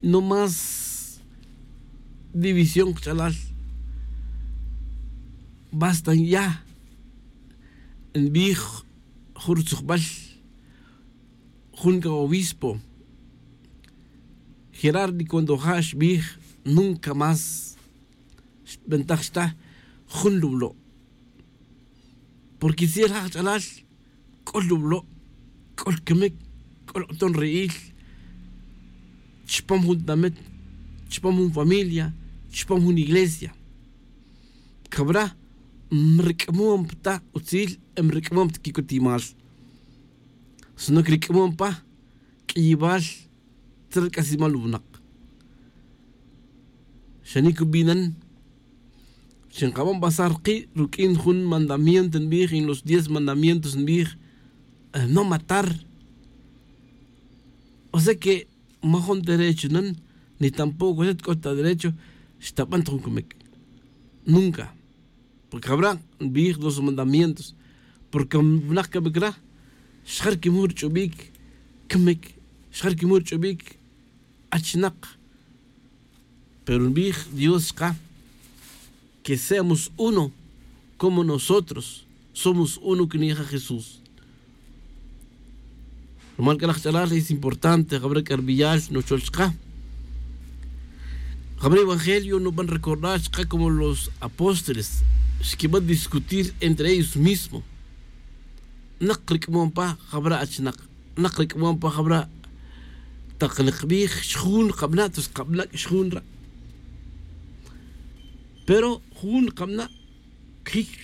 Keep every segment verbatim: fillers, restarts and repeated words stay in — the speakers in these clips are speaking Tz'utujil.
No más división kach'alal. Basta ya nbij jun rutzujbal jun k'a obispo, Gerardi cuando ja' xbij nunca más xtb'antaj xtaj jun lub'lo'. Porque si el ja' kach'alal k'ol lub'lo', k'ol kamic, k'ol q'uton ri'il chupam jun tinamit, chupam jun familia, chupam jun iglesia. Cabra mric'amom ta utzil, mric'amom ta quicutimal, sino que ric'amom pa q'uiyibal tzra rc'asimal winak. Xanic ubinan chi nkaban basar ki' ruq'uin jun mandamiento nbij, en los diez mandamientos nbij, no matar. O sea que majun derecho nan, ni tampoco xat c'o ta derecho xtaban ta jun camic. Nunca. Porque jabra' nbij dos mandamientos. Porque winak camic ra xjar quimuj rich'ubic camic, xjar quimuj rich'ubic achnak. Pero nbij dios chka que seamos uno como nosotros somos uno que nija jesús. Rumal c'a laj ch'alal es importante jabra' c'a ribiyal nuchol chka. Jabra' evangelio nuban recordar chka como los apóstoles xquiban discutir entre ellos mismos. Nak ric'amom pa jabra' achnak, nak ric'amom pa jabra'. Tak nikbij xjun kabana' tus kabana' xjun ra'. Pero jun kabana' quijic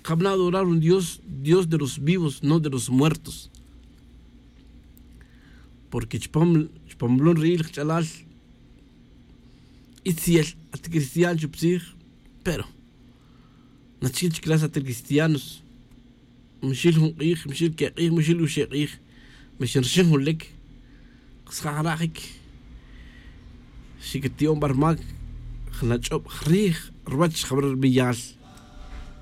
kabana' adorar un dios dios de los vivos no de los muertos. Porque chupam chupam lon ri'il kach'alal itziel at cristiano chup tzij. Pero nachic chic las at cristianos. Mixil jun k'ij mixil que' k'ij mixil uxe' k'ij. Mixin rixin jun lic. Ksaja' rajic xicati'on barmac jnach'ob rij ruwech jabra' ribiyal.